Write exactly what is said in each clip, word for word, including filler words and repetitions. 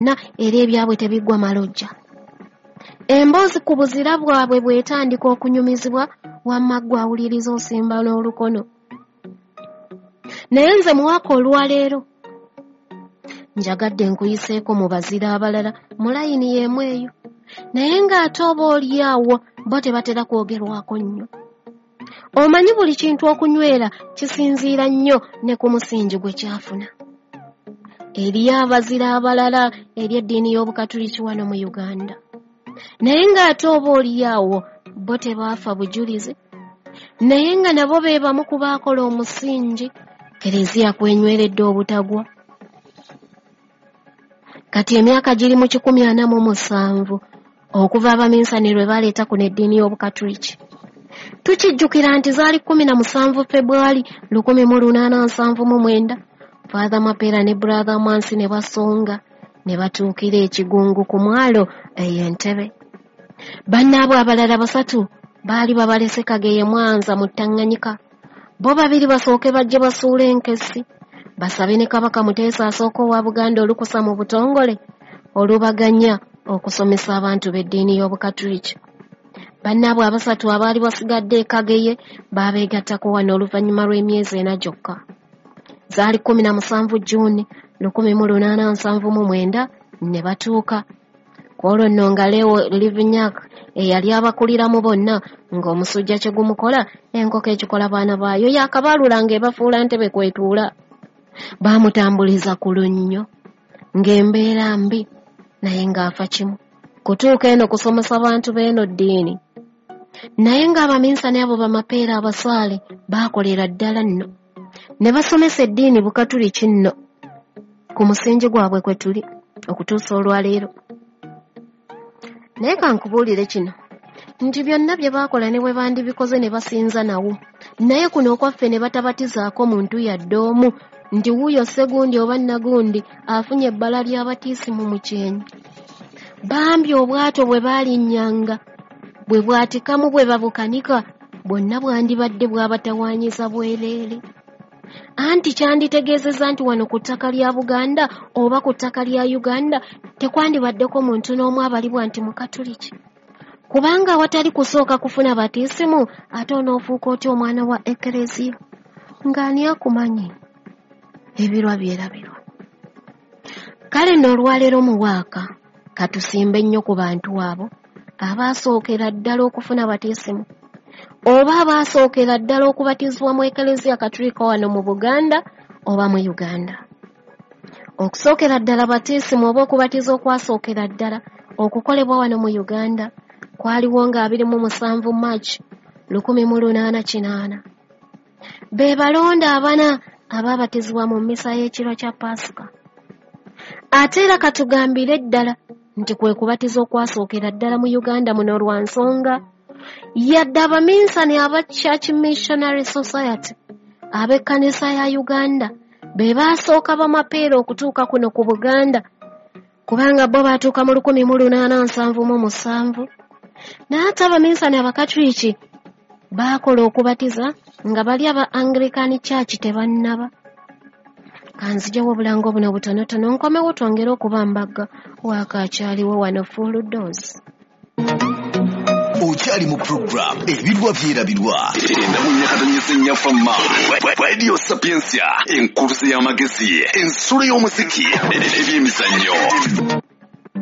Era ebyabwe tebiggwa malojja. Emboozi ku buzira bwabwe bw'etandika okunyumizibwa, wamma ggwe awuliriza osimba n'olukono. Naye nze muwaka olwaleero njagadde nkuyiseeko mu bazira abalala mu layini y'emu eyo, naye ng'ate oba oli awo bo tebatera kwogerwako nnyo. Omanyi buli kintu okunywera kisinziira nnyo ne ku musingi gwe kyafuna. Eriyo abazira abalala eri eddiini y'Obukatuliki wano mu Uganda, naye ng'ate oba oli awo bo tebaafa bujulizi, naye nga nabo be bamu ku baakola omusingi Kereziya kwenyweredde obutagwa. Kati emyaka giri mu kikumi ana mu musanvu okuva abaminsani lwe baleeta kuno eddiini y'Obukatuliki. Tukijjukira nti zaali kkumi na musanvu Febwali lukumi mu lunaana nsanvu mu mwenda, Father Mapeera ne Brother Mansi ne basonga ne batuukira ekigungu ku mwalo eyo Entebbe. Bannaabwe abalala basatu baali babalese Kageye Mwanza mu Tanganyika. Bo babiri basooke bajje basuule enkessi, basabe ne Kabaka Muteesa asooka owa Buganda olukusa mu butongole olubaganya okusomesa abantu b'eddiini y'Obukatuliki. Bannaabwe abasatu abaali basigadde e Kageye baabeegattako wano oluvannyuma lw'emyezi ena gyokka. Zaali kkumi na musanvu Jjuuni lukumi mu lunaana nsanvu mu mwenda ne batuuka. Ku olwo nno nga Leo Livinyak eyali abakuliramu bonna ng'omusujja kye gumukola enkoko ekikola baana baayo yakabaalula ng'ebafuula ntebe kwetuula. Baamutambuliza ku lunnyo ng'embeera mbi naye ng'afa kimu kutuuka eno kusomesa bantu b'eno ddiini. Naye ng'abaminsani abo bamapeera abasaale baakolera ddala nno ne basomesa eddiini Bukatuliki nno ku musingi gwabwe kwe tuli okutuusa olwaleero. Naye kankubuulire kino nti byonna bye baakola ne bwe bandibikoze ne basinza nawo, naye kuno okwaffe ne batabatizaako muntu yadde omu nti wuuyo Ssegundi oba Nnagundi afunye ebbala ly'abatiisimu mu kyenyi. Bambi obwato bwe baalinnyanga bwe bwatikamu bwe babukanika bwonna bwandibadde bwabatawaanyiza bwereere. Anti kyanditegeezezza nti wano ku ttaka lya Buganda oba ku ttaka lya Uganda tekwandibaddeko muntu n'omu abalibwa nti Mukatuliki, kubanga awatali kusooka kufuna batiisimu ate onoofuuka otya omwana wa Ekereziya ng'ani akumanyi? Ebirwa byerabirwa. Kale nno olwaleero muwaaka katusimbe nnyo ku bantu abo abaasookera ddala okufuna batiisimu oba abaasookera ddala okubatizibwa mu Ekereziya Katulika wano mu Buganda oba mu Uganda. Okusookera ddala batiisimu oba okubatiza okwasookera ddala okukolebwa wano mu Uganda kwaliwo nga abiri mu musanvu March lukumi mu lunaana kinaana. Be balonda abana abaabatizibwa mu mmisa y'ekiro kya Paasika. Ate era katugambire ddala nti kwe kubatiza okwasookera ddala mu Uganda muno lwa nsonga yadde abaminsani aba Church Missionary Society ab'ekkanisa ya Uganda be baasooka bamapeera okutuuka kuno ku Buganda, kubanga bo baatuuka mu lukumi mu lunaana nsanvu mu musanvu. Naye ate abaminsani Abakatuliki baakola okubatiza nga bali aba Anglican Church tebannaba. Kanzijewo obulango buno butonotono nkomewo twongere okubambagga waaka akyaliwo wano full dose. Okyali mu program Ebirwa Byerabirwa endamunyakatonyesa ennyafama Radio Sapientia, enkuluze y'amagezi, ensulo y'omuziki, ebyemizannyo.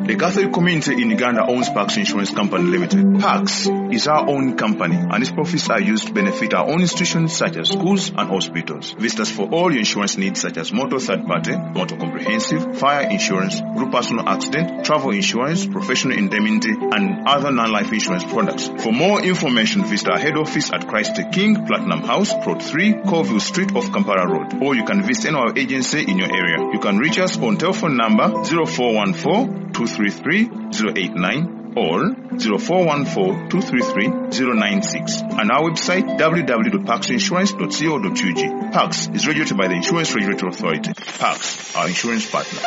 The Catholic community in Uganda owns Pax Insurance Company Limited. Pax is our own company and its profits are used to benefit our own institutions such as schools and hospitals. Visit us for all your insurance needs such as motor third party, motor comprehensive, fire insurance, group personal accident, travel insurance, professional indemnity and other non-life insurance products. For more information, visit our head office at Christ the King, Platinum House, Plot three, Colville Street off Kampala Road. Or you can visit any of our agency in your area. You can reach us on telephone number zero four one four, two three three zero eight nine or zero four one four, two three three, zero nine six and our website w w w dot pax insurance dot co dot u g. Pax is regulated by the Insurance Regulatory Authority. Pax, our insurance partner.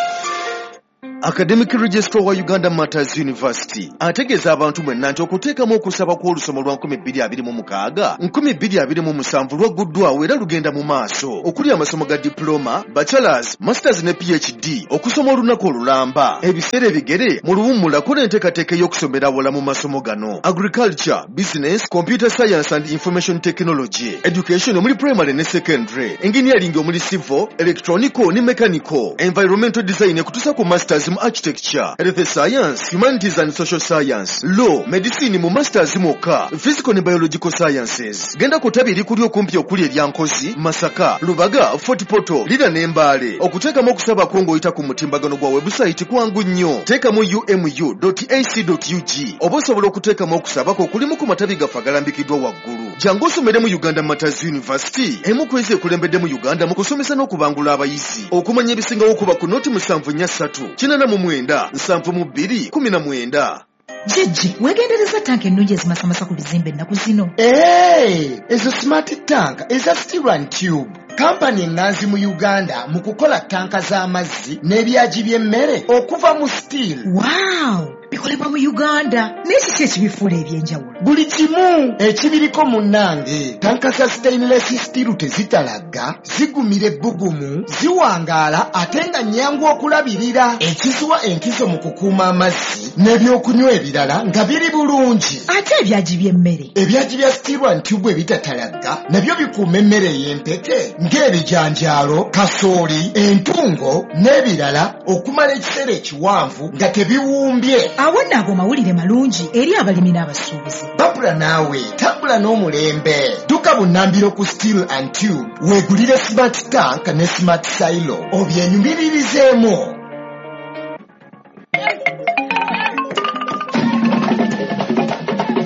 Academic Registrar wa Uganda Martyrs University ategeeza abantu mwenna nti okuteekamu okusaba kw'olusoma lwa nkumi bbiri abiri mu mukaaga nkumi bbiri abiri mu musanvu lwagguddwawo era lugenda mu maaso, okuli amasomo ga diploma, bachelors, masters ne P H D, okusoma olunaku olulamba, ebiseera ebigere, mu luwummulako n'enteekateeka ey'okusomera awala mu masomo gano: agriculture, business, computer science and information technology, education omuli primary ne secondary, engineering omuli civil, electronical ne mechanical, environmental design ekutuusa ku masters mu architecture, health science, humanities and social science, law, medicine mu masters mwokka, physical ne biological sciences. Genda ku ttabi erikuli okumpi okuli erya Nkozi, Masaka, Lubaga, Fort Portal, Lira ne Mbale. Okuteekamu okusaba kwo ng'oyita ku mutimbagano gwa website kwangu nnyo. Teekamu umu dot ac dot ug oba osobola okuteekamu okusaba kwo okulimu ku matabi gaffe agalambikiddwa waggulu. Jangu osomere mu Uganda Martyrs University, emu ku ezo ekulembedde mu Uganda mu kusomesa n'okubangula abayizi. Okumanya ebisingawo kuba ku noti musanvu nnya ssatu kinaana mu mwenda nsanvu mu bbiri kumi na mwenda. Jjajja, weegendereza tanka ennungi ezimasamasa ku bizimbe ennaku zino. Ee, ezo smart tank eza Steel and Tube, kampani eŋŋanzi mu Uganda mu kukola tanka z'amazzi n'ebyagi by'emmere okuva mu steel. Waaw, bikolebwa mu Uganda, naye kiki ekibifuula ebyenjawulo? Buli kimu ekibiriko munnange. Tanka za stainless steel tezitalagga, zigumira ebbugumu, ziwangaala ate nga nnyangu okulabirira, ekiziwa enkizo mu kukuuma amazzi n'ebyokunywa ebirala nga biri bulungi. Ate ebyagi by'emmere? Ebyagi bya Steel and Tube ebitatalagga nabyo bikuuma emmere ey'empeke ng'ebijanjaalo, kasooli, entungo n'ebirala okumala ekiseera ekiwanvu nga tebiwumbye. Awo nno ago mawulire malungi eri abalimi n'abasuubuzi. Babula naawe tambula n'omulembe. Dduka bunnambiro ku Steel and Tube weegulire smart tank ne smart silo obyenyumiririzeemu.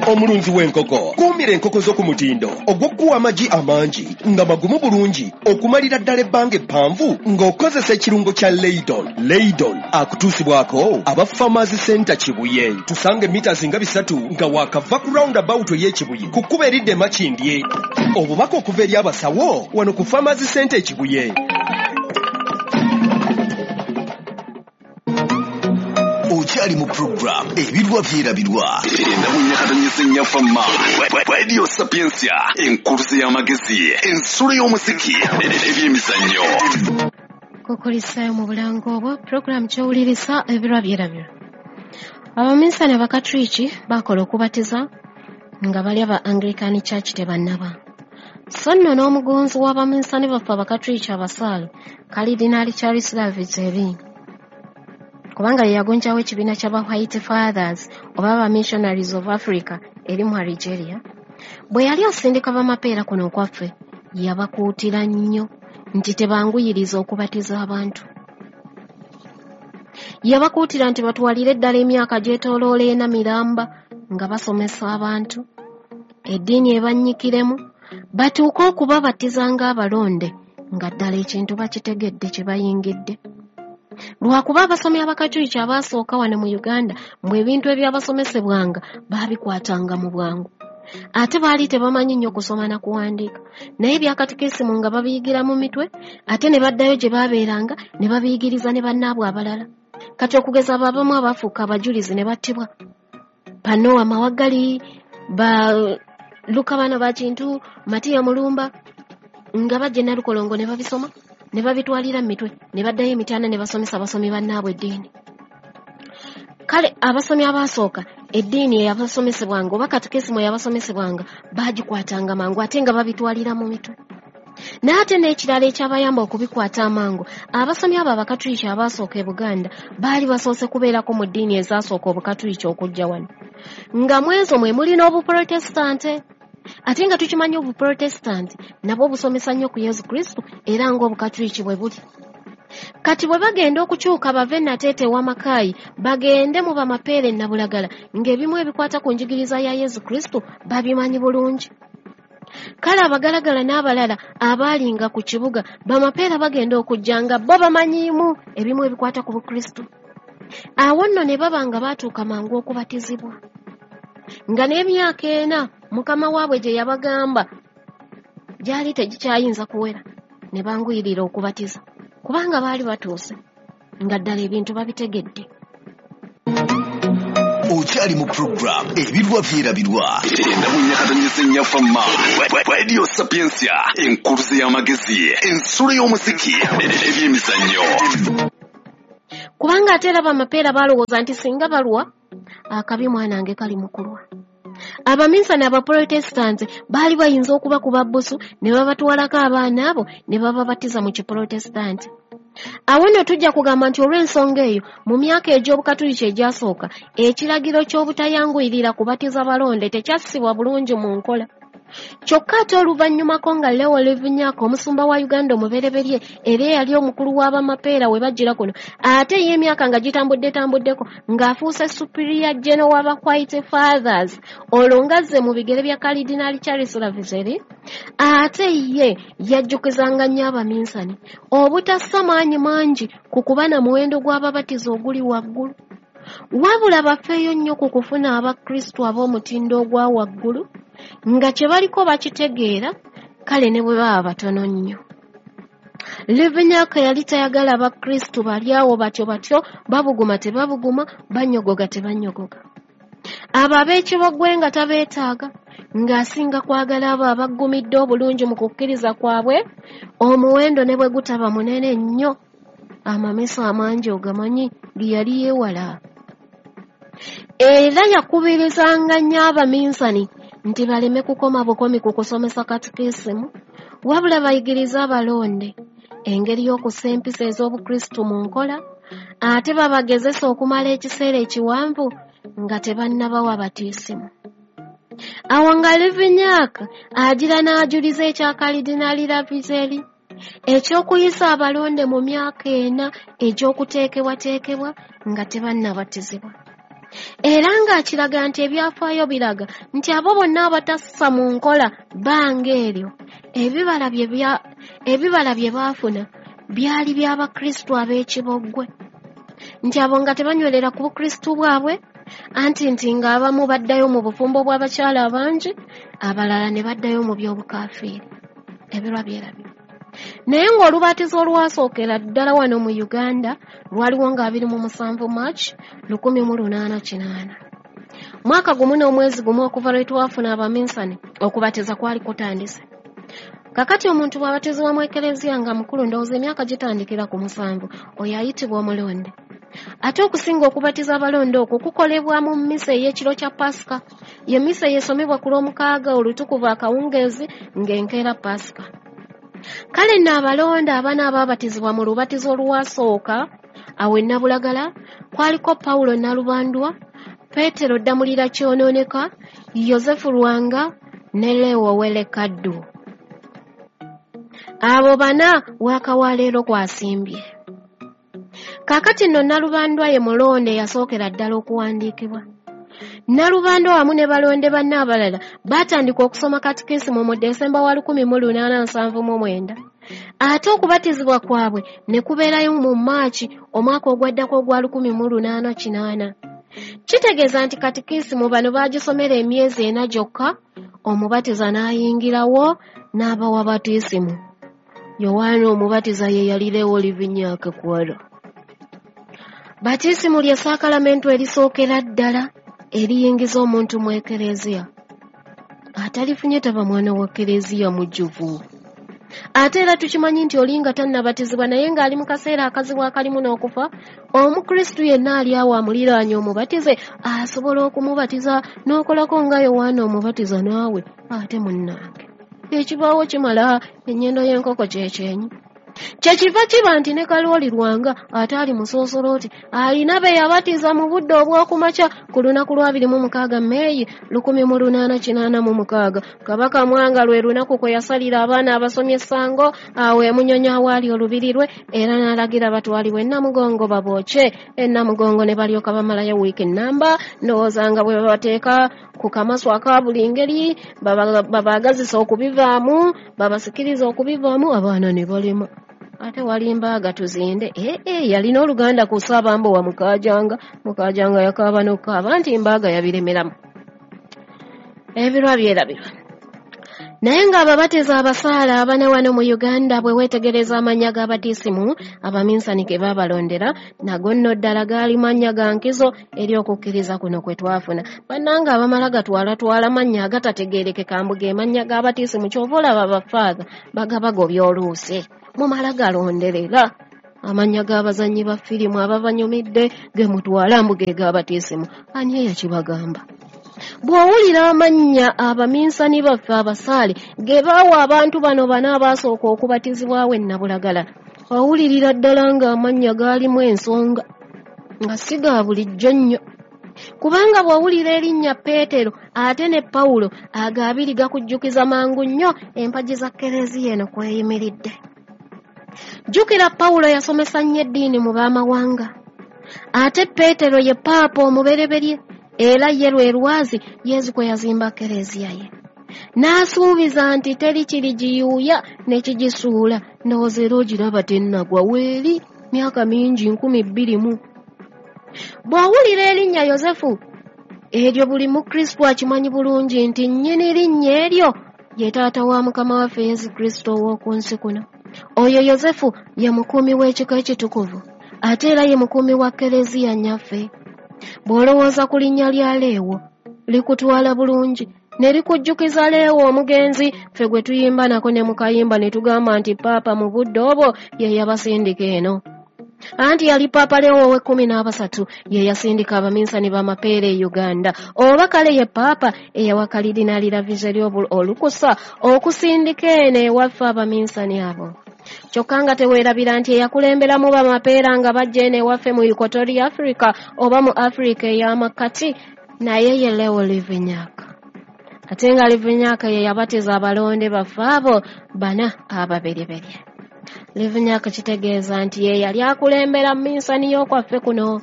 Omulunzi w'enkoko, kuumira enkoko zo ku mutindo ogw'okuwa amagi amangi nga magumu bulungi okumalira ddala ebbanga eppanvu ng'okozesa ekirungo kya Leidon. Leidon akutuusibwako aba Farmers Center Kibuye. Tusanga emita nga bisatu nga waakava ku roundabout ey'Ekibuye ku kkubo eridda e Makindye. Obubaka okuva eri abasawo wano ku Farmers Center Ekibuye. Okyali mu program Ebirwa Byerabirwa, endamunyakatonyesa ennyafama, Radio Sapiensia, enkuluze y'amagezi, ensulo y'omuziki, ebyemizannyo. Kukulisaayo mu bulango obwo puroguramu ky'owuliriza Ebirwa Byerabirwa. Abaminsani Abakatuliki bakola okubatiza nga bali aba Anglican Church tebannaba. So nno n'omugonzi w'abaminsani baffe Abakatuliki abasaale, Kalidinaali Charles Lavigerie, kubanga ye yagonjawo ekibiina ky'aba White Fathers oba aba Missionaries of Africa eri mu Algeria, bwe yali asindika bamapeera kuno okwaffe, yabakuutira nnyo nti tebanguyiriza okubatiza abantu. Yabakuutira nti batwalire ddala emyaka gyetooloola ena miramba nga basomesa abantu eddiini ebannyikiremu, batuuke okubabatiza ng'abalonde nga ddala ekintu bakitegedde kye bayingidde. Lwakuba abasomi Abakatuliki abaasooka wano mu Uganda mu ebintu ebyabasomesebwanga baabikwatanga mu bwangu, ate baali tebamanyi nnyo kusoma na kuwandiika, naye ebyakatikisimu nga babiyigira mu mitwe, ate ne baddayo gye baabeeranga ne babiyigiriza ne bannaabwe abalala. Kati okugeza abo abamu abaafuuka abajulizi ne battibwa, Panowa Mawagali, ba Luka bano bakintu, Matiya Mulumba, nga bajja e Nalukolongo ne babisoma ne babitwalira mu mitwe ne baddayo emityana ne basomesa abasomi bannaabwe eddiini. Kale abasomi abaasooka eddiini eyabasomesebwanga oba katekisimu eyabasomesebwanga baagikwatanga mangu ate nga babitwalira mu mitwe. Naye ate n'ekirala ekyabayamba okubikwata amangu, abasomi abo Abakatuliki abaasooka e Buganda baali basoose kubeerako mu ddiini ezaasooka Obukatuliki okujja wano, nga mu ezo mwe muli n'Obuprotestante, ate nga tukimanyi Obuprotestante nabwo busomesa nnyo ku Yesu Kristo era ng'Obukatuliki bwe buli. Kati bwe bagenda okukyuka bave Nateete ewa Makaayi bagende mu bamapeere Nabulagala, ng'ebimu ebikwata ku njigiriza ya Yesu Kristo babimanyi bulungi. Kale abagalagala n'abalala abaalinga ku kibuga bamapeera bagenda okujja nga bo bamanyiimu ebimu ebikwata ku Bukristo. Awo nno ne baba nga baatuuka mangu okubatizibwa, nga n'emyaka ena mukama waabwe gye yabagamba gyali tegikyayinza kuwera, ne banguyirira okubatiza kubanga baali batuuse. nga ddala ebintu babitegedde. Okyali mu program Ebirwa Byerabirwa endamunyakatonyesa ennyafamma Radio Sapientia, enkuluze y'amagezi, ensulo y'omuziki, ebyemizannyo. Kubanga ate era bamapeera balowooza nti singa balwa akabi mwanange kali mu kulwa. Abaminsani abaprotestanti baali bayinza okubakuba bbusu ne babatwalako abaana abo ne bababatiza mu kiprotestanti. Awo nno tujja kugamba nti olw'ensonga eyo mu myaka egy'obukatuliki egyasooka ekiragiro ky'obutayanguyirira kubatiza balonde tekyassibwa bulungi mu nkola. Kyokka ate oluvannyumako nga Leo Livinyak omusumba wa Uganda omubereberye era eyali omukulu w'abamapeera we bajjira kuno, ate ye emyaka nga gitambudde-tambuddeko ng'afuuse Superior General w'aba White Fathers, olwo ng'azze mu bigere bya Kalidinaali Charles Lavigerie, ate ye yajjukizanga nnyo abaminsani obutassa maanyi mangi ku kuba na muwendo gw'ababatiza oguli waggulu, wabula bafeeyo nnyo ku kufuna Abakristu ab'omutindo ogwa waggulu nga kye baliko bakitegeera, kale ne bwe baba batono nnyo. Livinyak yali tayagala Abakristu bali awo batyo batyo, babuguma tebabuguma, banyogoga tebanyogoga. Abo ab'ekibogwe nga tabeetaaga, ng'asinga kwagala abo abaggumidde obulungi mu kukkiriza kwabwe, omuwendo ne bwe gutaba munene nnyo. Amamesa amangi ogamanyi ge yali yeewala. Era yakubirizanga nnyo abaminsani nti baleme kukoma bukomi ku kusomesa katikisimu, wabula bayigirize abalonde engeri y'okussa empisa ez'Obukristu mu nkola, ate babagezese okumala ekiseera ekiwanvu nga tebannabawa batiisimu. Awo nga Livinyak agira n'ajuliza ekya Kalidinaali Lavigerie eky'okuyisa abalonde mu myaka ena egy'okuteekebwateekebwa nga tebannabatizibwa. Era ng'akiraga nti ebyafaayo biraga nti abo bonna abatassa mu nkola bbanga eryo ebibala bye ebibala bye baafuna byali by'Abakristu ab'ekiboggwe, nti abo nga tebanywerera ku Bukristu bwabwe, anti nti ng'abamu baddayo mu bufumbo bw'abakyala abangi, abalala ne baddayo mu by'obukaafiiri. Ebirwa byerabirwa. Naye ng'olubatizo olwasookera ddala wano mu Uganda lwaliwo nga abiri mu musanvu March lukumi mu lunaana kinaana. Mwaka gumu n'omwezi gumu okuva lwe twafuna abaminsani, okubatiza kwali kutandise. Kakati omuntu bw'abatizibwa mu Ekereziya nga mukulu, ndowooza emyaka gitandikira ku musanvu, oyo ayitibwa omulonde. Ate okusinga okubatiza abalonde okwo kukolebwa mu mmisa ey'ekiro kya Pasika. Ye mmisa eyesomebwa ku Lwomukaaga olutukuvu akawungeezi ng'enkeera Pasika. Kale nno abalonde abana abaabatizibwa mu lubatizo olwasooka awo e Nabulagala kwaliko Pawulo Nalubandwa, Peetero Ddamulira Kyonooneka, Yosefu Lwanga ne Leo Welekaddu. Abo bana waaka wa leero kwasimbye. Kaakati nno Nalubandwa ye mulonde eyasookera ddala okuwandiikibwa. Nalubandwa wamu ne balonde banne abalala baatandika okusoma katikisimu mu Desemba wa lukumi mu lunaana nsanvu mu mwenda. Ate okubatizibwa kwabwe ne kubeerayo mu Maaci omwaka ogwaddako ogwa lukumi mu lunaana kinaana. Kitegeeza nti katikisimu bano baagisomera emyezi ena gyokka, omubatiza n'ayingirawo n'abawa batiisimu. Yowaana omubatiza ye yali Leo Livinyak kwala. Batiisimu lye saakalamentu erisookera ddala eriyingiza omuntu mu Ekereziya. Atalifunye taba mwana wa Kereziya mujjuvu. Ate era tukimanyi nti oli nga tannabatizibwa naye ng'ali mu kaseera akazibu akalimu n'okufa, Omukristu yenna ali awo amuliraanye omubatize asobola okumubatiza n'okolako nga Yowaana omubatiza naawe ate munnange. Ekibaawo kimala, ennyindo y'enkoko kyekyenyi. Kyekiva kiba nti ne Kalooli Lwanga ate ali musoosolooti alina be yabatiza mu budde obw'okumakya ku lunaku lwa abiri mu mukaaga Meeyi lukumi mu lunaana kinaana mu mukaaga. Kabaka Mwanga lwe lunaku kwe yasalira abaana abasomye essango awo e Munyonyo awaali olubiri lwe, era n'alagira batwalibwe e Namugongo babookye. E Namugongo ne balyoka bamalayo wiiki nnamba, ndowooza nga bwe babateeka ku kamasu aka buli ngeri, babaagazisa okubivaamu, babasikiriza okubivaamu, abaana ne balema. Ate wali mbaaga tuzinde. Eh, eh, yalina oluganda ku Ssaabambo wa Mukaajanga. Mukaajanga yakaaba n'okukaaba nti mbaaga yabiremeramu. Ebirwa byerabirwa. Naye ng'ababatiza abasaala abana wano mu Uganda bwe weetegereza amannya g'abatisimu abaminsani ge baabalondera, nago nno ddala gaali mannya ga nkizo eri okukkiriza kuno kwe twafuna. Bannange abamala gatwalatwala mannya agatategeerekeka mbu ge mannya g'abatisimu, ky'ova olaba bafaatha bagabagobya oluusi. Mumala galonderera amannya g'abazannyi ba firimu ababanyumidde ge mutwala mbu ge g'abatisimu. Ani eyakibagamba? Bw'owulira amannya abaminsani baffe abasaale ge baawa abantu bano bana abaasooka okubatizibwawo e Nabulagala, owulirira ddala ng'amannya gaalimu ensonga, nga si ga bulijjo nnyo. Kubanga bw'owulira erinnya Peetero ate ne Pawulo, ago abiri gakujjukiza mangu nnyo empagi za Kereziya eno kweyimiridde. Jjukira Pawulo yasomesa nnyo eddiini mu b'amawanga, ate Peetero ye Paapa omubereberye, era ye lwe lwazi Yesu kwe yazimba Kereziya ye. N'asuubiza nti teri kirigiyuuya ne kigisuula. Ndowooza era ogiraba tennagwa weeri myaka mingi nkumi bbiri mu. Bw'owulira erinnya Yosefu, eryo buli Mukristo akimanyi bulungi nti nnyini linnya eryo ye taata wa Mukama waffe Yesu Kristo ow'oku nsi kuno. Oyo Yosefu ye mukuumi w'ekika ekitukuvu, ate era ye mukuumi wa Kereziya nnyaffe. Bw'olowooza ku linnya lya Leewo, likutwala bulungi ne likujjukiza Leewo omugenzi ffe gwe tuyimba nako ne mu kayimba ne tugamba nti Paapa mu budde obwo ye yabasindika eno. Anti yali Paapa Leewo ow'ekkumi n'abasatu ye yasindika abaminsani b'amapeera e Uganda, oba kale ye Paapa eyawa Kalidinaali Lavigerie olukusa okusindika eno ewaffe abaminsani abo. Kyokka nga teweerabira nti eyakulemberamu bamapeera nga bajja eno ewaffe mu Equatorial Africa oba mu Africa ey'amakkati naye ye Leo Livinyak. Ate nga Livinyak ye yabatiza abalonde baffe abo bana ababereberye. Livinyak kitegeeza nti ye yali akulembera minsani y'okwaffe kuno.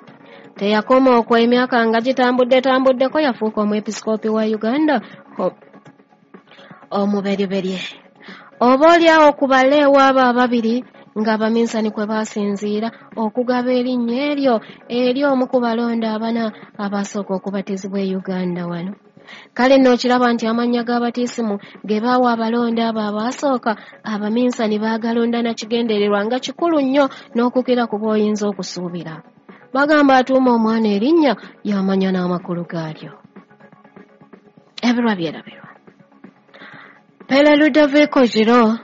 Teyakoma okwo, emyaka nga gitambudde tambuddeko yafuuka omwepisikoopi wa Uganda omubereberye. Oba oliawo ku baleewo abo ababiri ng'abaminsani kwe baasinziira okugaba erinnya eryo eri omu ku balonda abana abasooka okubatizibwa e Uganda wano. Kale nno okiraba nti amannya g'abatisimu ge baawa abalonda abo abaasooka, abaminsani baagalonda na kigendererwa nga kikulu nnyo n'okukira ku bw'oyinza okusuubira. Bagamba atuuma omwana erinnya y'amanya n'amakulu gaalyo. Ebirwa byerabirwa. Pere Ludovico Giro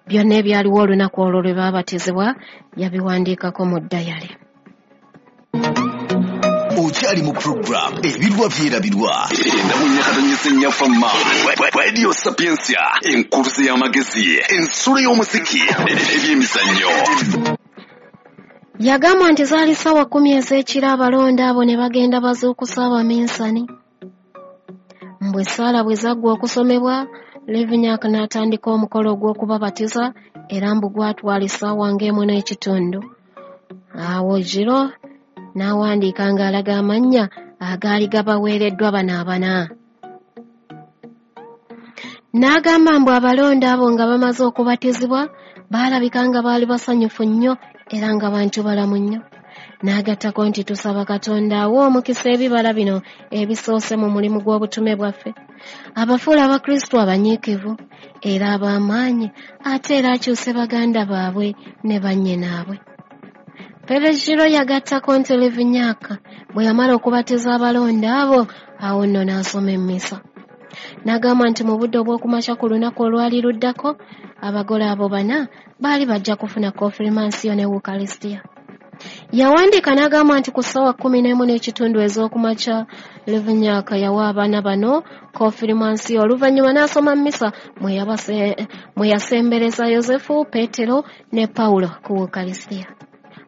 byonna ebyaliwo olunaku olwo lwe baabatizibwa yabiwandiikako mu ddayale. Okyali mu program Ebirwa Byerabirwa endamunyakatonyesa ennyafama Radio Sapientia, enkuluze y'amagezi, ensulo y'omuziki, ebyemizannyo. Yagamba nti zaali ssaawa kkumi ez'ekiro abalonda abo ne bagenda bazuukusa abaminsani. Mbwe essaala bwe zaggwa okusomebwa, Livinyak n'atandika omukolo ogw'okubabatiza era mbu gwatwala essaawa ng'emu n'ekitundu. Awo Giro n'awandiika ng'alaga amannya agaali gabaweereddwa bano abana. N'agamba mbu abalonda abo nga bamaze okubatizibwa baalabika nga baali basanyufu nnyo era nga bantu balamu nnyo. N'agattako nti tusaba Katonda awe omukisa ebibala bino ebisoose mu mulimu gw'obutume bwaffe, abafuula Abakristo abanyiikivu era ab'amaanyi, ate era akyuse baganda baabwe ne bannyinaabwe. Pere Giro yagattako nti Livinyak bwe yamala okubatiza abalonda abo, awo nno n'asoma emmisa. N'agamba nti mu budde obw'okumakya ku lunaku olwali luddako, abagole abo bana baali bajja kufuna konfirmansiyo ne Wukalisitiya. Yawandiika n'agamba nti ku ssaawa kkumi n'emu n'ekitundu ez'okumakya, Livinyak yawa abaana bano konfirmansiyo, oluvannyuma n'asoma mmisa mwe yasembereza Yosefu, Peetero ne Pawulo ku Wukalisitiya.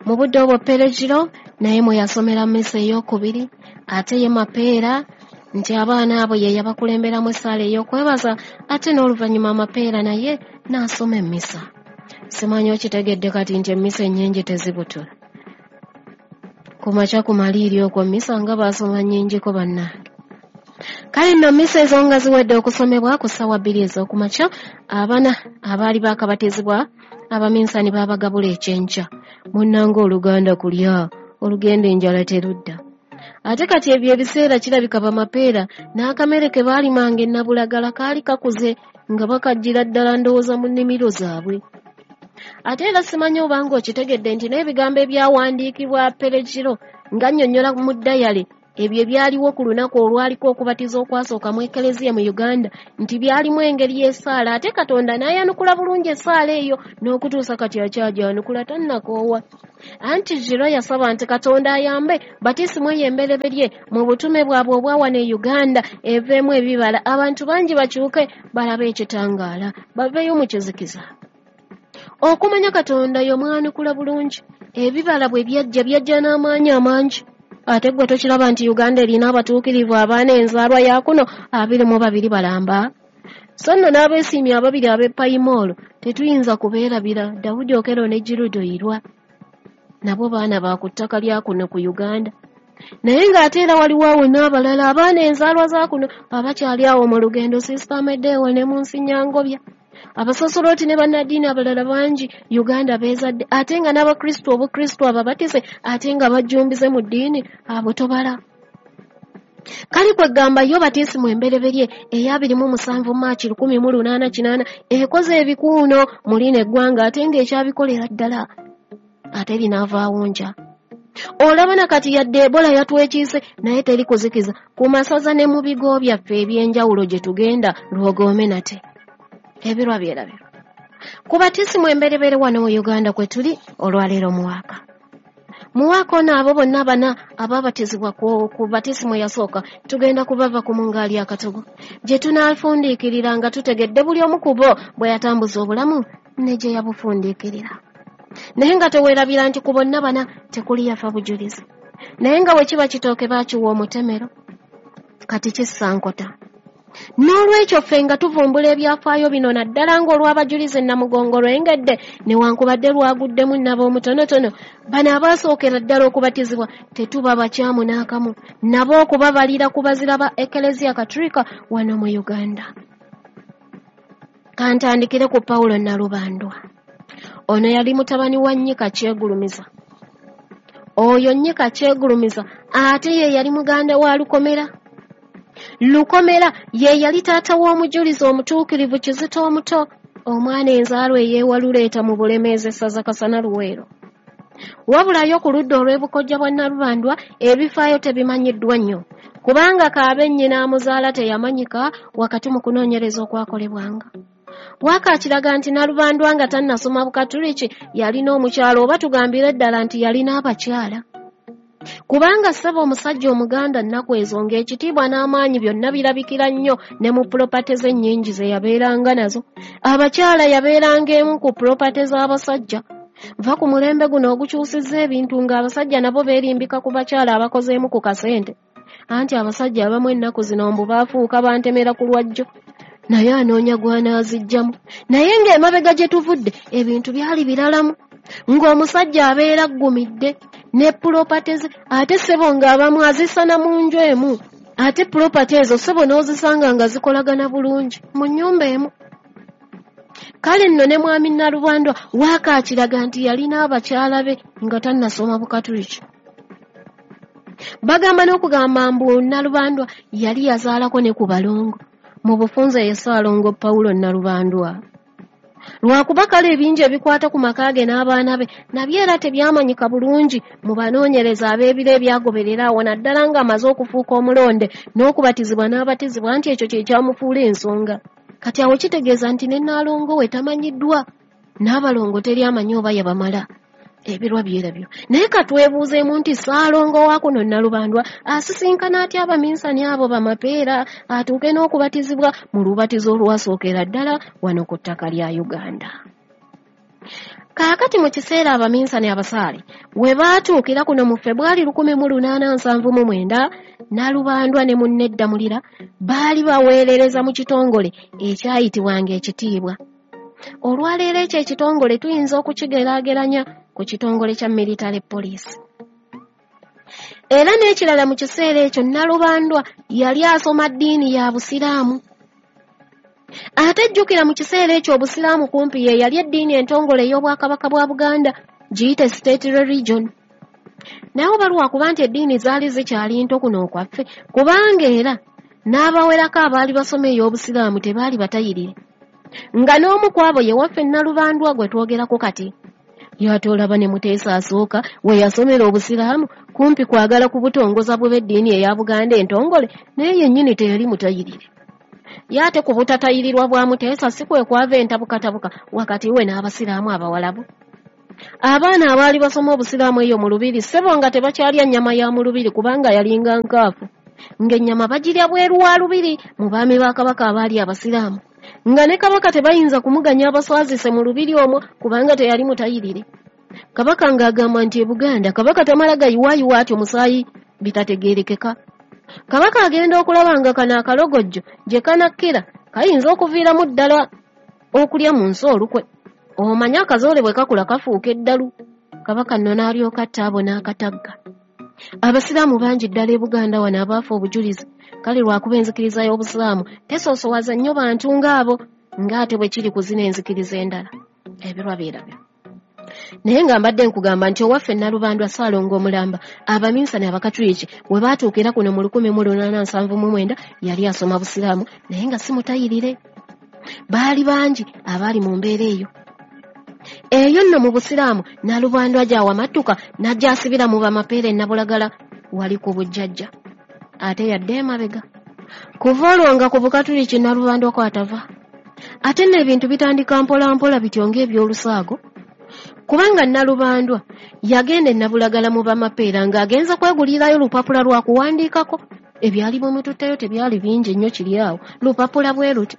Mu budde obwo Pere Giro naye mwe yasomera mmisa ey'okubiri, ate ye Mapeera nti abaana abo ye yabakulemberamu essaala ey'okwebaza, ate n'oluvannyuma Mapeera naye n'asoma emmisa. Simanyi okitegedde kati nti emmisa ennyingi tezibutula. Ku makya ku maliiri okwo mmisa nga baasoma nnyingiko bannange. Kale nno mmisa ezo nga ziwedde okusomebwa ku ssaawa bbiri ez'okumakya, abana abaali baakabatizibwa abaminsani baabagabula ekyenkya. Munnange oluganda kulya, olugenda enjala terudda. Ate kati ebyo ebiseera kirabika bamapeera n'akamere ke baalimanga e Nabulagala kaali kakuze nga bakajjira ddala ndowooza mu nnimiro zaabwe. Ate era simanyi obanga okitegedde nti n'ebigambo ebyawandiikibwa Peregiro nga nnyonnyola mu dayale ebyo ebyaliwo ku lunaku olwaliko okubatiza okwasooka mu Eklezia mu Uganda nti byalimu engeri y'essaala, ate Katonda n'ayanukula bulungi essaala eyo n'okutuusa kati akyagyanukula tannakoowa. Anti Giro yasaba nti Katonda ayambe batisimu eyo embereberye mu butume bwabwe obwa wano e Uganda eveemu ebibala, abantu bangi bakyuke balabe ekitangaala baveeyo mu kizikiza. Okumanya Katonda y'omwanukula bulungi, ebibala bwe byajja byajja n'amaanyi amangi. Ate ggwe tokiraba nti Uganda erina abatuukirivu abaana enzaalwa ya kuno abiri mu babiri balamba? So nno n'abeesiimye ababiri ab'e Payimoolo tetuyinza kubeerabira, Dawudi Okello ne Girudo Irwa. Nabo baana ba ku ttaka lya kuno ku Uganda. Naye ng'ate era waliwo awo n'abalala abaana enzaalwa za kuno abakyali awo mu lugendo, Sisita Amedewo ne Munsinyangobya. Abasosoloti ne bannaddiini abalala bangi Uganda beezadde, ate nga n'Abakristu obukristu ababatize ate nga bajjumbize mu ddiini abo tobala. Kale kwegamba yo batisimu embereberye ey'abiri mu musanvu Maachi lukumi mu lunaana kinaana ekoze ebikuuno mu lino eggwanga ate ng'ekyabikolera ddala ate linaavaawo nja. Olaba na kati yadde Ebola yatwekiise naye teri kuzikiza ku masaza ne mu bigo byaffe eby'enjawulo gye tugenda lwogoome nate. Ebirwa byerabirwa. Ku batisimu emberebere wano mu Uganda kwe tuli olwaleero muwaaka. Muwaaka ono abo bonna bana ababatizibwa ku, ku batisimu eyasooka tugenda kubava ku mungaali akatogo gye tunaafundiikirira nga tutegedde buli omu ku bo bwe yatambuza obulamu ne gye yabufundiikirira. Naye nga teweerabira nti ku bonna bana tekuli yafa bujulizi. Naye nga bwe kiba kitooke baakiwa omutemero kati kissa nkota. N'olwekyo ffe nga tuvumbula ebyafaayo bino naddala ng'olw'abajulizi Namugongo lwengedde newankubadde lwaguddemu nnabo omutonotono, bano abaasookera ddala okubatizibwa tetuba bakyamu n'akamu nabo okubabalira ku bazira ba Eklezia Katolika wano mu Uganda. Kantandikire ku Pawulo Nalubandwa. Ono yali mutabani wa Nnyika Kyegulumiza. Oyo Nnyika Kyegulumiza ate ye yali muganda wa Lukomera. Lukomera ye yali taata w'omujulizi omutuukirivu Kizito omuto, omwana enzaalwa eyeewaluleeta mu Bulemeezi essaza Kasana Luweero. Wabulayo ku ludda olw'ebukojja bwa Nalubandwa ebifaayo tebimanyiddwa nnyo, kubanga kaabe nnyina amuzaala teyamanyika wakati mu kunoonyereza okwakolebwanga. Waaka akiraga nti Nalubandwa nga tannasoma Bukatuliki yalina omukyala, oba tugambire ddala nti yalina abakyala. Kubanga ssebo omusajja Omuganda nnaku ezo ng'ekitiibwa n'amaanyi byonna birabikira nnyo ne mu pulopate ze nnyingi ze yabeeranga nazo. Abakyala yabeeranga emu ku pulopate z'abasajja. Nva ku mulembe guno ogukyusizza ebintu ng'abasajja nabo beerimbika ku bakyala abakozeemu ku kasente. Anti abasajja abamu ennaku zino mbu baafuuka bantemera ku lwajjo, naye anoonya gw'anaazijjamu. Naye ng'emabega gye tuvudde ebintu byali biralamu, ng'omusajja abeera aggumidde ne pulopate ze, ate ssebo ng'abamu azisana mu nju emu, ate pulopate ezo ssebo n'ozisanga nga zikolagana bulungi mu nnyumba emu. Kale nno ne mwami Nalubandwa waaka akiraga nti yalina abakyala be nga tannasoma Bukatuliki. Bagamba n'okugamba mbu Nalubandwa yali yazaalako ne ku balongo. Mu bufunze ye Ssaalongo Pawulo Nalubandwa. Lwakuba kale ebingi ebikwata ku maka ge n'abaana be nabyo era tebyamanyika bulungi mu banoonyereza ab'ebiro ebyagoberera awo, naddala ng'amaze okufuuka omulonde n'okubatizibwa n'abatizibwa nti ekyo kye kyamufuula ensonga. Kati awo kitegeeza nti ne Nnaalongo we tamanyiddwa, n'abalongo teri amanyi oba yabamala. Ebirwa byerabyo. Naye katwebuuzeemu nti Ssaalongo wa kuno Nalubandwa asisinkana atya abaminsani abo bamapeera atuuke n'okubatizibwa mu lubatizo olwasookera ddala wano ku ttaka lya Uganda. Kaakati mu kiseera abaminsani abasaale we baatuukira kuno mu Febwali lukumi mu lunaana nsanvu mu mwenda, Nalubandwa ne munne Ddamulira baali baweerereza mu kitongole ekyayitibwanga Ekitiibwa. Olwaleero ekyo ekitongole tuyinza okukigeraageranya ku kitongole kya military police. Era n'ekirala mu kiseera ekyo Nalubandwa yali asoma ddiini ya Busiraamu. Ate jjukira mu kiseera ekyo Obusiraamu kumpi ye yali eddiini entongole ey'Obwakabaka bwa Buganda, giyite state religion. Naye oba lwakuba nti eddiini zaali zikyali nto kuno okwaffe, kubanga era n'abawerako abaali basoma ey'Obusiraamu tebaali batayirire. Nga n'omu ku abo ye waffe Nalubandwa gwe twogerako kati. Ye ate olaba ne Muteesa asooka we yasomera obusiraamu kumpi kwagala kubutongoza bwe b'eddiini eya Buganda entongole, naye yennyini teyali mutayirire. Ye ate ku butatayirirwa bwa Muteesa si kwe kwava entabukatabuka wakati we n'abasiraamu abawalabu. Abaana abaali basoma obusiraamu eyo mu lubiri ssebo nga tebakyalya nnyama ya mu lubiri kubanga yalinga nkaafu, ng'ennyama bagirya bweru wa lubiri mu baami ba Kabaka abaali abasiraamu, nga ne Kabaka tebayinza kumuganya abaswazise mu lubiri omwo kubanga teyali mutayirire. Kabaka ng'agamba nti e Buganda Kabaka tamala gayiwaayiwa atyo musaayi bitategeerekeka. Kabaka agenda okulaba nga kano akalogojjo gye kanakkira kayinza okuviiramu ddala okulya mu nsi olukwe. Omanye akazoole bwe kakula kafuuka eddalu. Kabaka nno n'alyoka atta abo n'akatagga. Abasiraamu bangi ddala e Buganda wano abaafa obujulizi, kale lwakuba enzikiriza y'obusiraamu tesoosowaza nnyo bantu ng'abo ng'ate bwe kiri ku zino enzikiriza endala. Ebirwa byerabyo. Naye nga mbadde nkugamba nti owaffe Nalubandwa Ssaalongo omulamba abaminsani abakatuliki we baatuukira kuno mu lukumi mu lunaana nsanvu mu mwenda yali asoma busiraamu naye nga si mutayirire. Baali bangi abaali mu mbeera eyo. Eyo nno mu busiraamu Nalubandwa gy'awamattuka n'ajja asibira mu bamapeera e Nabulagala wali ku bujjajja ate yadde emabega. Kuva olwo nga ku bukatuliki Nalubandwa kw'atava. Ate nno ebintu bitandika mpola mpola bityo ng'ebyolusaago. Kubanga Nalubandwa yagenda e Nabulagala mu bamapeera ng'agenza kwegulirayo lupapula lwa kuwandiikako. Ebyali bimututteyo tebyali bingi nnyo kiri awo, lupapula bwe luti.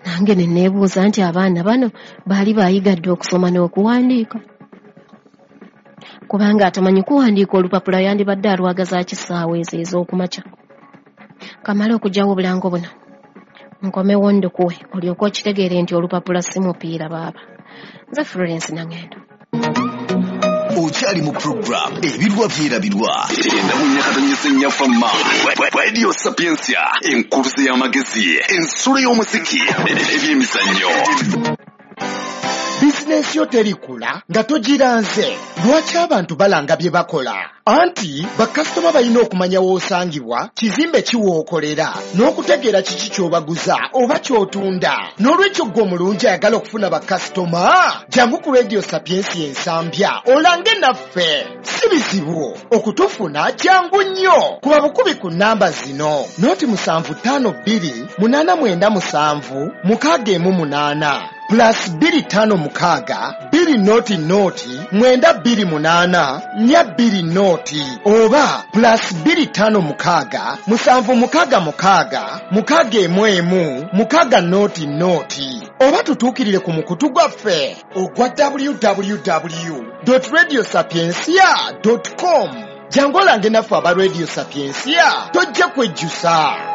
Nange ne neebuuza nti abaana bano baali baayiga dda okusoma n'okuwandiika, kubanga atamanyi kuwandiika olupapula yandibadde alwagaza kisaawa ezo ez'okumakya. Kamale okuggyawo obulango buno nkomewo ndukuwe olyoke okitegeere nti olupapula si mupiira baaba. Nze Florence Nangendo. Okyali mu program Ebirwa Byerabirwa enda mu nyakatonyesa ennyaffe ma Radio Sapientia, enkuluze y'amagezi, ensulo y'omuziki, ebyemizannyo. Bizinensi yo terikula nga togiranze. Lwaki abantu balanga bye bakola? Anti bakasitoma balina okumanya w'osangibwa, kizimbe ki w'okolera, n'okutegeera kiki ky'obaguza oba ky'otunda. N'olwekyo ggwe omulungi ayagala okufuna bakasitoma, jangu ku Radio Sapientia Ensambya olange naffe. Si bizibu okutufuna, jangu nnyo. Kuba bukubi ku nnamba zino: noti musanvu ttaano bbiri munaana mwenda musanvu mukaaga emu munaana plus bbiri ttaano mukaaga bbiri noti noti mwenda bbiri munaana nnya bbiri noti oba plus bbiri ttaano mukaaga musanvu mukaaga mukaaga mukaaga emu emu mukaaga noti noti oba tutuukirire ku mukutu gwaffe ogwa w w w radio sapientia com. Jangu olange naffe aba Radio Sapientia, tojja kwejjusa.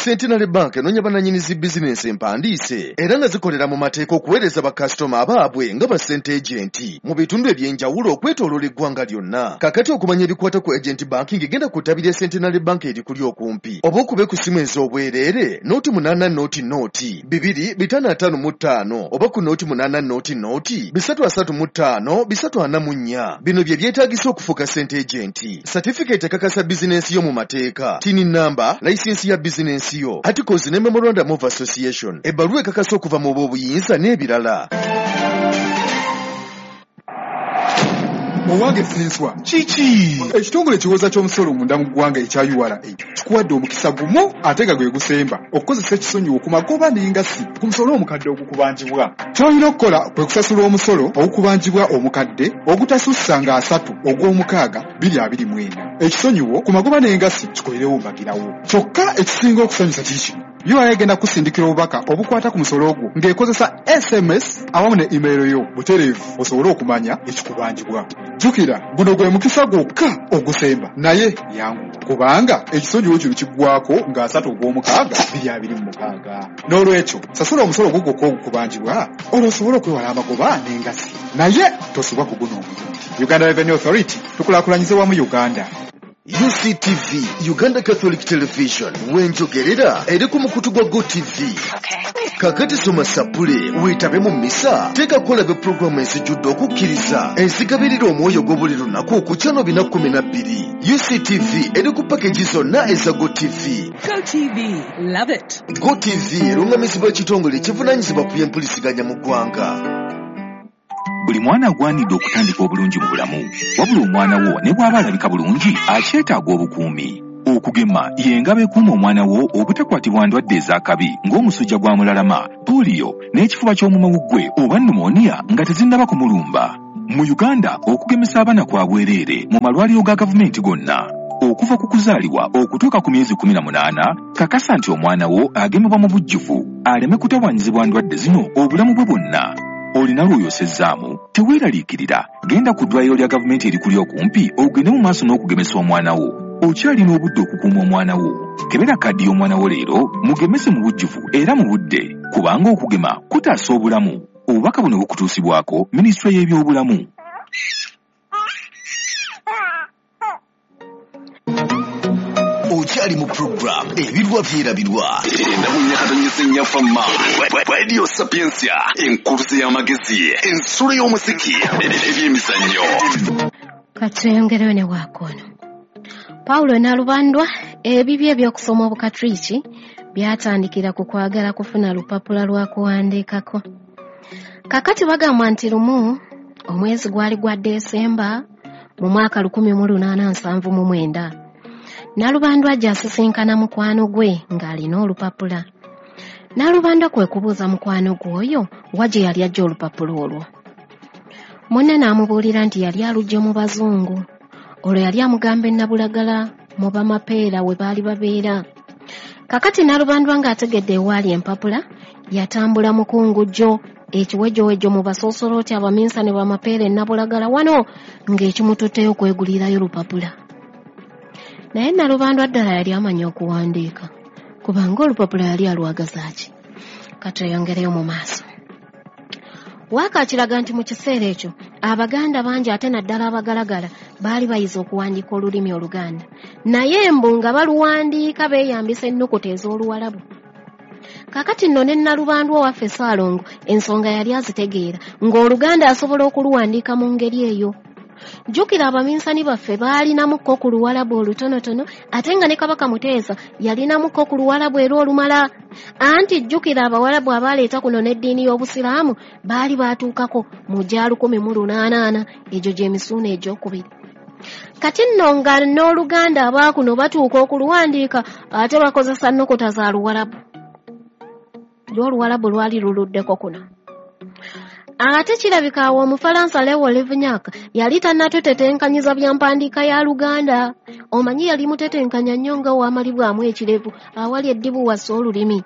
Centenary Bank enoonya bannannyini zi bizinensi empandiise era nga zikolera mu mateeka okuweereza bakasitoma abaabwe nga ba ssente agent mu bitundu eby'enjawulo okwetooloola eggwanga lyonna. Kaakati okumanya ebikwata ku agent banking, genda ku ttabi lya Centenary Bank erikuli okumpi oba okube ku ssimu ez'obwereere nooti munaana nooti nooti bibiri bitaano ataano mu ttaano oba ku nooti munaana nooti nooti bisatu asatu mu ttaano bisatu ana mu nnya. Bino bye byetaagisa okufuuka sente agent: certificate ekakasa bizinensi yo mu mateeka, TIN number, layisinsi ya bizinensi yo, articles ne memorandum of association, ebbaluwa ekakasa okuva mu b'obuyinza n'ebirala. Owange Senswa. Kiki? Ekitongole ekiwooza ky'omusolo munda mu ggwanga ekya U R A kikuwadde omukisa gumu ate nga gwe gusemba okukozesa ekisonyiwo ku magoba n'engassi ku musolo omukadde ogukubanjibwa. Ky'olina okukola kwe kusasula omusolo ogukubanjibwa omukadde ogutasussa nga asatu ogw'omukaaga bbiri abiri mu ena. Ekisonyiwo ku magoba n'engassi kikolerewo mbagirawo. Kyokka ekisinga okusanyusa kiri kino: U R A egenda kusindikira obubaka obukwata ku musolo ogwo ng'ekozesa S M S awamu ne email yo butereevu osobole okumanya ekikubanjibwa. Jjukira, guno gwe mukisa gwokka ogusemba, naye yangu kubanga ekisonyiwo kino kiggwako nga asatu ogw'omukaaga bbiri abiri mu mukaaga. N'olwekyo sasula omusolo ogwo gwokka ogukubanjibwa olwo osobole okwewala amagoba n'engassi, naye tosubwa ku guno omulundi. Uganda Revenue Authority, tukulaakulanyize wamu Uganda. U C T V, Uganda Catholic Television, wenjogerera eri ku mukutu gwa GoTV. Kakati soma sapule, weetabe mu mmisa, teekako olabe pulogulaamu ezijjudde okukkiriza, ezigabirira omwoyo gwo buli lunaku ku channel bina kkumi na bbiri. U C T V eri ku package zonna eza GoTV. GoTV, love it. GoTV erungamizibwa ekitongole ekivunaanyizibwa ku by'empulisiganya mu ggwanga. Buli mwana agwanidde okutandika obulungi mu bulamu, wabula omwana wo ne bw'aba alabika bulungi akyetaaga obukuumi. Okugema y'engabo ekuuma omwana wo obutakwatibwa ndwadde ez'akabi ng'omusujja gwa mulalama, pooliyo n'ekifuba ky'omumawuggwe oba pneumonia nga tezinnaba kumulumba. Mu Uganda okugemesa abaana kwa bwereere mu malwaliro ga gavumenti gonna. Okuva ku kuzaalibwa okutuuka ku myezi kkumi na munaana, kakasa nti omwana wo agemebwa mu bujjuvu aleme kutawaanyizibwa ndwadde zino obulamu bwe bwonna. Olina lw'oyosezzaamu, teweeraliikirira, genda ku ddwaliro lya gavumenti erikuli okumpi ogende mu maaso n'okugemesa omwana wo. Okyalina obudde okukuuma omwana wo. Kebera kaddi y'omwana wo leero, mugemese mu bujjuvu era mu budde, kubanga okugema kutaasa obulamu. Obubaka buno bukutuusibwako Minisitule y'Ebyobulamu. Okyali mu program Ebirwa Byerabirwa endabunyakatonyesa ennyafamma Radio Sapientia, enkuluze y'amagezi, ensulo y'omuziki, ebyemizannyo. Katweyongereyo ne waakono. Paulo Nalubandwa ebibye eby'okusoma Obukatuliki byatandikira ku kwagala kufuna lupapula lwa kuwandiikako. Kakati bagamba nti lumu omwezi gwali gwa Desemba mu mwaka lukumi mu lunaana nsanvu mu mwenda. Nalubandwa ajja asisinkana mukwano gwe ng'alina olupapula. Nalubandwa kwe kubuuza mukwano gwe oyo wa gye yali ajja olupapula olwo. Munne n'amubuulira nti yali aluggye mu bazungu. Olwo yali amugamba e Nabulagala mu Bamapeera we baali babeera. Kakati Nalubandwa ng'ategedde ewaali empapula, yatambula mukungujjo ekiwejjowejjo mu basoosolooti abaminsa ne Bamapeera e Nabulagala wano ng'ekimututteyo okwegulirayo lupapula. Naye Nalubandwa ddala yali amanyi okuwandiika, kubanga olupapula yali alwagaza ki? Katweyongereyo mu maaso. Waaka akiraga nti mu kiseera ekyo Abaganda bangi ate naddala abagalagala baali bayize okuwandiika olulimi Oluganda, naye mbu nga baluwandiika beeyambisa ennukuta ez'Oluwalabu. Kakati nno ne Nalubandwa owaffe Ssaalongo ensonga yali azitegeera ng'Oluganda asobola okuluwandiika mu ngeri eyo. Jjukira abaminsani baffe baalinamukko ku Luwalabu olutonotono, ate nga ne Kabaka Muteesa yalinamukko ku Luwalabu era olumala. Anti jjukira Abawalabu abaaleeta kuno n'eddiini y'Obusiraamu baali baatuukako mu gya lukumi mu lunaana egyo gy'emisuuna egy'okubiri. Kati nno nga n'Oluganda abaakuno batuuka okuluwandiika ate bakozesa nnukuta za Luwalabu. Lwo Oluwalabu lwali luluddeko kuno. Ate kirabika awo Omufalansa Leo Livignac yali tannatutetenkanyiza bya mpandiika ya Luganda. Omanyi yali mutetenkanya nnyo nga wamalibwamu ekirevu awali eddibu wassa olulimi.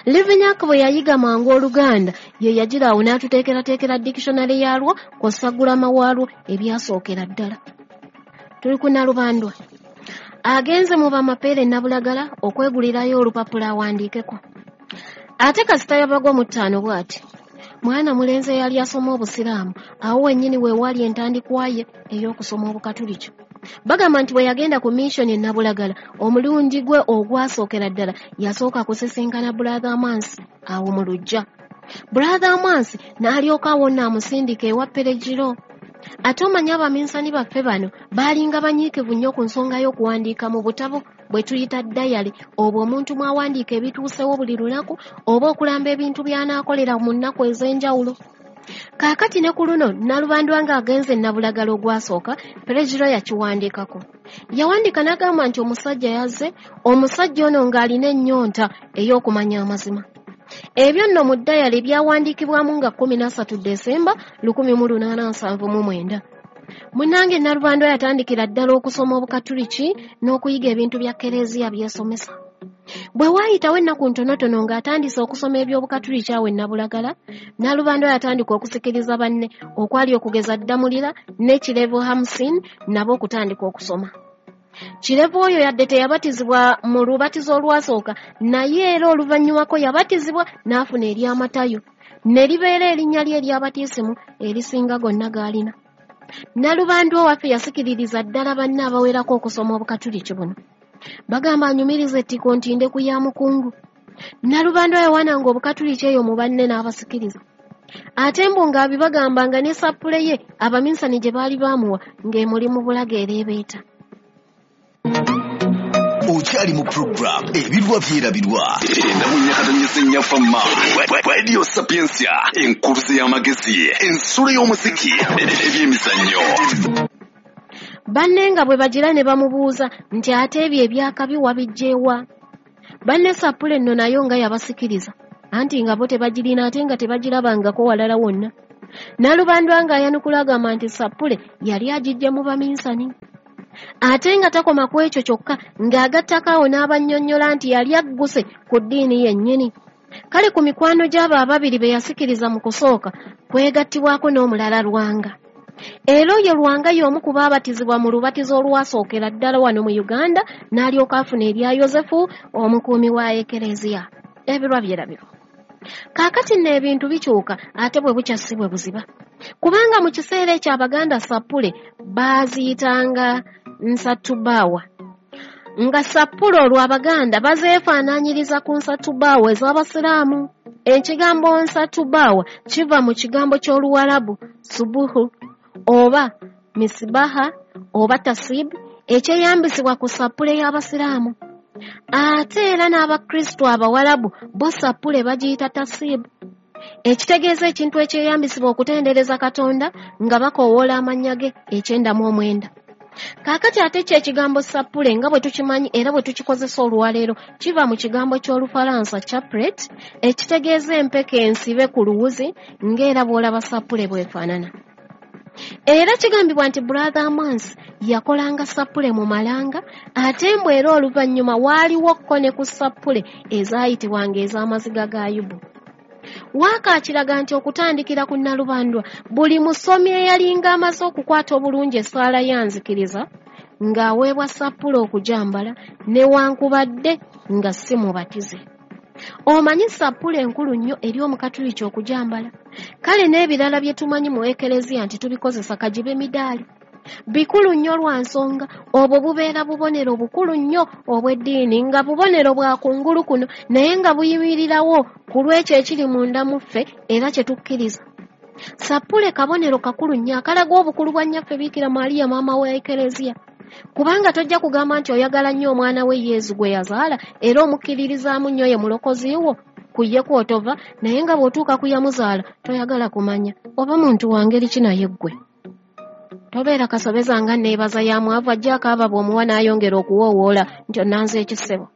Livignac bwe yayiga mangu Oluganda ye yagira awo n'atuteekerateekera dictionary yaalwo kw'ossa gulama waalwo ebyasookera ddala. Tuli ku Nalubandwa. Agenze mu Bamapeera e Nabulagala okwegulirayo olupapula awandiikeko. Ate kasita yabagwa mu ttaano bw'ati. Mwana mulenzi eyali asoma Obusiraamu awo wennyini we waali entandikwa ye ey'okusoma Obukatuliki. Bagamba nti bwe yagenda ku mission e Nabulagala omulundi gwe ogwasookera ddala yasooka kusisinkana Brother Amansi awo mu luggya. Brother Amansi n'alyoka awo nno amusindika ewa Peregiro. Ate omanyi abaminsani baffe bano baalinga banyiikivu nnyo ku nsonga y'okuwandiika mu butabo bwe tuyita dayali, obwo omuntu mw'awandiika ebituusewo buli lunaku oba okulamba ebintu by'anaakolera mu nnaku ez'enjawulo. Kaakati ne ku luno Nalubandwa ng'agenze Nabulagala ogwasooka, Peregiro yakiwandiikako. Yawandiika n'agamba nti omusajja yazze, omusajja ono ng'alina ennyonta ey'okumanya amazima. Ebyo nno mu dayali byawandiikibwamu nga kkumi na ssatu Desemba lukumi mu lunaana nsanvu mu mwenda. Munnange Nalubandwa yatandikira ddala okusoma Obukatuliki n'okuyiga ebintu bya Kereziya by'esomesa. Bwe waayitawo ennaku ntonotono ng'atandise okusoma eby'Obukatuliki awo e Nabulagala, Nalubandwa yatandika okusikiriza banne okwali okugeza Ddamulira ne Kirevu Hamsin nabo okutandika okusoma. Kirevu oyo yadde teyabatizibwa mu lubatizo olwasooka, naye era oluvannyumako yabatizibwa n'afuna ery'Amatayo, ne libeera erinnya lye ery'abatisimu erisinga gonna g'alina. Nalubandwa owaffe yasikiririza ddala banne abawerako okusoma obukatuliki buno. Bagamba anyumiriza ettiko nti ndeku ya mukungu. Nalubandwa yawananga obukatuliki eyo mu banne n'abasikiriza. Ate mbu ng'abibagamba nga ne sappule ye abaminsani gye baali baamuwa ng'emuli mu bulago ereebeeta. Okyali mu program Ebirwa Byerabirwa endamunyakatonyesa ennyafamma Radio Sapientia, enkuluze y'amagezi, ensulo y'omuziki, ebyemizannyo. Banne nga bwe bagira ne bamubuuza nti ate ebyo ebyakabi wabiggyewa. Banne sappule nno nayo nga yabasikiriza, anti nga bo tebagirina ate nga tebagirabangako walala wonna. Nalubandwa ng'ayanukula agamba nti sappule yali agiggye mu baminsani. Ate nga takoma ku ekyo kyokka, ng'agattako awo n'abannyonnyola nti yali agguse ku ddiini yennyini. Kale ku mikwano gy'abo ababiri be yasikiriza mu kusooka kwegattibwako n'omulala Lwanga. Era oyo Lwanga y'omu ku baabatizibwa mu lubatizo olwasookera ddala wano mu Uganda, n'alyoka afuna erya Yosefu omukuumi wa Ekereziya. Ebirwa byerabirwa. Kaakati nno ebintu bikyuka ate bwe bukya si bwe buziba. Kubanga mu kiseera ekyo Abaganda sappule baaziyitanga nsatubaawa. Nga sappule olwo Abaganda bazeefaanaanyiriza ku nsatubaawa ez'Abasiraamu. Ekigambo nsatubaawa kiva mu kigambo ky'Oluwarabu subuhu oba misibaha oba tasib, ekyeyambisibwa ku sappule y'Abasiraamu. Ate era n'Abakristo Abawarabu bo sappule bagiyita tasibu, ekitegeeza ekintu ekyeyambisibwa okutendereza Katonda nga bakoowoola amannya ge ekyenda mu omwenda. Kaakati ate kyo ekigambo sappule nga bwe tukimanyi era bwe tukikozesa olwaleero kiva mu kigambo ky'Olufalansa chaplet, ekitegeeza empeke ensibe ku luwuzi ng'era bw'olaba sappule bw'efaanana. Era kigambibwa nti Brother Mans yakolanga sappule mu malanga, ate mbu era oluvannyuma waaliwo kko ne ku sappule ezaayitibwanga ez'amaziga ga Yubu. Waaka akiraga nti okutandikira ku Nalubandwa buli musomi eyalinga amaze okukwata obulungi essaala ya nzikiriza ng'aweebwa sappule okugyambala newankubadde nga si mubatize. Omanyi sappule enkulu nnyo eri omukatuliki okugyambala. Kale n'ebirala bye tumanyi mu Ekereziya nti tubikozesa kagibe midaali. Bikulu nnyo lwa nsonga obwo bubeera bubonero bukulu nnyo obw'eddiini, nga bubonero bwa kungulu kuno naye nga buyimirirawo ku lw'ekyo ekiri munda mu ffe era kye tukkiriza. Sappule kabonero kakulu nnyo akalaga obukulu bwa nnyaffe Biikira Maria maama wa Ekereziya. Kubanga tojja kugamba nti oyagala nnyo omwana we Yezu gwe yazaala era omukkiririzaamu nnyo ye mulokozi wo ku ye kw'otova, naye nga bw'otuuka ku yamuzaala toyagala kumanya oba muntu wa ngeri ki naye ggwe. Tobeera kasobeza nga nneebaza ya mwavu ajja akaaba bw'omuwa n'ayongera okuwoowoola nti onnanze ekisebo.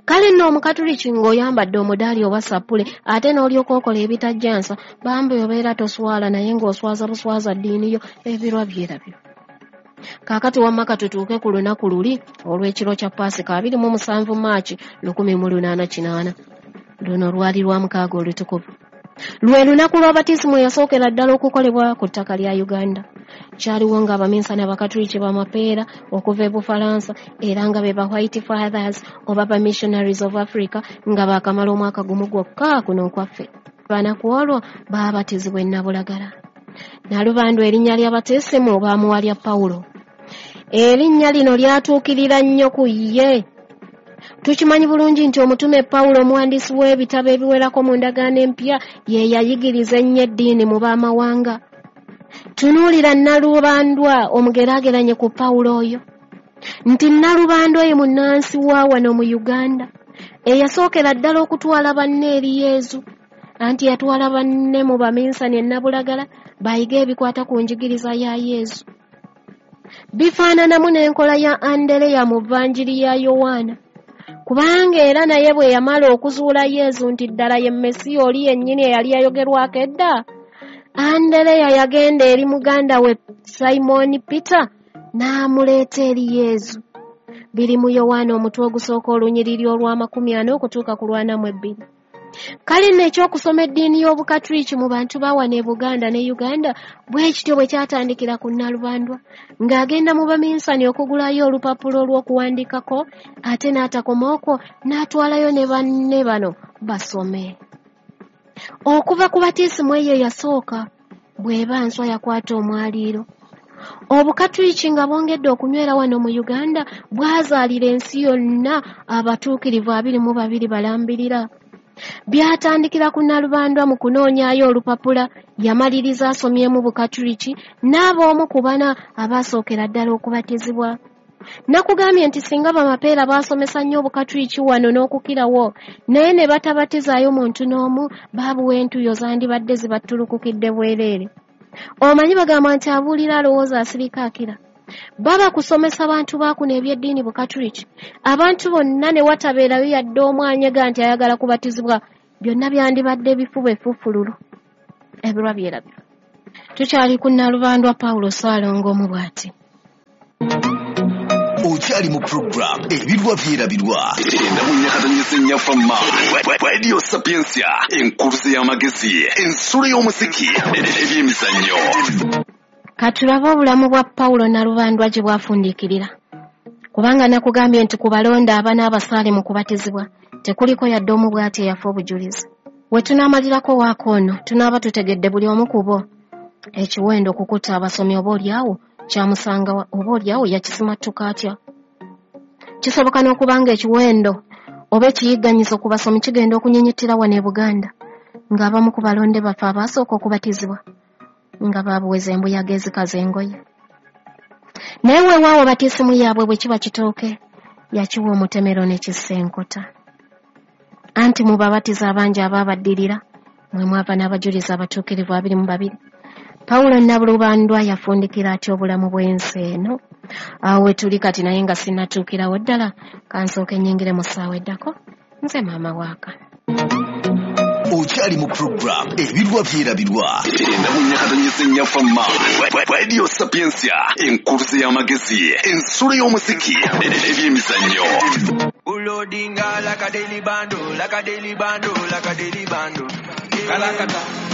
Kale nno omukatuliki ng'oyambadde omudaali oba sappule ate n'olyoka okola ebitajjansa, bambi obeera toswala naye ng'oswaza buswaza ddiini yo. Ebirwa byerabirwa. Kaakati wamma katutuuke ku lunaku luli olw'ekiro kya Paasika abiri mu musanvu Maaki lukumi mu lunaana kinaana. Luno lwali lwa mukaaga olutukuvu. Lwe lunaku lwa batisimu eyasookera ddala okukolebwa ku ttaka lya Uganda. Kyaliwo ng'abaminsani Abakatuliki b'amapeera okuva e Bufalansa era nga be ba White Fathers oba ba Missionaries of Africa nga baakamala omwaka gumu gwokka kuno okwaffe. Bana ku olwo baabatizibwa e Nabulagala. Nalubandwa erinnya lya batisimu baamuwa lya Pawulo. Erinnya lino lyatuukirira nnyo ku ye. Tukimanyi bulungi nti omutume Pawulo omuwandiisi w'ebitabo ebiwerako mu ndagaano empya ye yayigiriza ennyo eddiini mu b'amawanga. Tunuulira Nalubandwa omugeraageranye ku Pawulo oyo, nti Nalubandwa ye munnansi wa wano mu Uganda eyasookera ddala okutwala banne eri Yezu. Anti yatwala banne mu baminsani e Nabulagala bayige ebikwata ku njigiriza ya Yezu. Bifaananamu n'enkola ya Andereya mu Vanjiri ya Yowaana. Kubanga era naye bwe yamala okuzuula Yezu nti ddala ye Mesiya oli yennyini eyali yayogerwako edda, Andereya yagenda eri muganda we Simoni Peter n'amuleeta eri Yezu. Biri mu Yowaana omutwe ogusooka olunyiriri olw'amakumi ana okutuuka ku lwana mu ebbiri. Kale nno ekyokusoma eddiini y'Obukatuliki mu bantu ba wano e Buganda ne Uganda bwe kityo bwe kyatandikira ku Nalubandwa, ng'agenda mu baminsani okugulayo olupapula olw'okuwandiikako, ate n'atakoma okwo n'atwalayo ne banne bano basome. Okuva ku batisimu eyo eyasooka Bw'eba nswa yakwata omwaliiro. Obukatuliki nga bwongedde okunywera wano mu Uganda bwazaalira ensi yonna abatuukirivu abiri mu babiri balambirira. Byatandikira ku Nalubandwa mu kunoonyaayo olupapula, yamaliriza asomyemu bukatuliki n'aba omu ku bana abaasookera ddala okubatizibwa. Nakugambye nti singa bamapeera baasomesa nnyo obukatuliki wano n'okukirawo, naye ne batabatizaayo muntu n'omu, baabuwa entuuyo zandibadde zibattulukukidde bwereere. Omanyi bagamba nti abuulira alowooza asirika akira. Baba kusomesa bantu baakuno eby'eddiini bukatuliki, abantu bonna ne watabeerayo yadde omu anyega nti ayagala kubatizibwa, byonna byandibadde bifuba effufululu. Ebirwa byerabirwa. Tukyali ku Nalubandwa Pawulo Ssaalongo omu bw'ati. Okyali mu program Ebirwa Byerabirwa endamunyakatanyisa ennyafamma Radio Sapientia, enkuluze y'amagezi, ensulo y'omuziki, ebyemizannyo. Katulabe obulamu bwa Pawulo Nalubandwa gye bwafundiikirira, kubanga nakugambye nti ku balonda abana abasaale mu kubatizibwa tekuliko yadde omu bw'ati eyafa obujulizi. We tunaamalirako waako ono tunaaba tutegedde buli omu ku bo ekiwendo okukutta abasomi oba oliawo kyamusanga oba oliawo yakisimattuka atya. Kisoboka n'okuba nga ekiwendo oba ekiyigganyizo ku basomi kigenda okunyinyitira wano e Buganda, ng'abamu ku balonde baffe abaasooka okubatizibwa nga baabuweza embuyaga ezikaza engoye. Naye weewaawo batiisimu yaabwe bwe kiba kitooke, yakiwa omutemero n'ekissa enkota. Anti mu babatiza abangi abaabaddirira mwe mwava n'abajulizi abatuukirivu abiri mu babiri. Pawulo Nalubandwa yafundikira atya obulamu bw'ensi eno? Awo we tuli kati, naye nga sinnatuukirawo ddala, kansooke nnyingire mu ssaawa eddako. Nze maama waaka. Okyali mu program Ebirwa Byerabirwa endamunyakatanyisa ennyafamma Radio Sapientia, enkuluze y'amagezi, ensulo y'omuziki, ebyemizannyo. Ulodinga like a daily bando, like a daily bando, like a daily bando. Kalakata.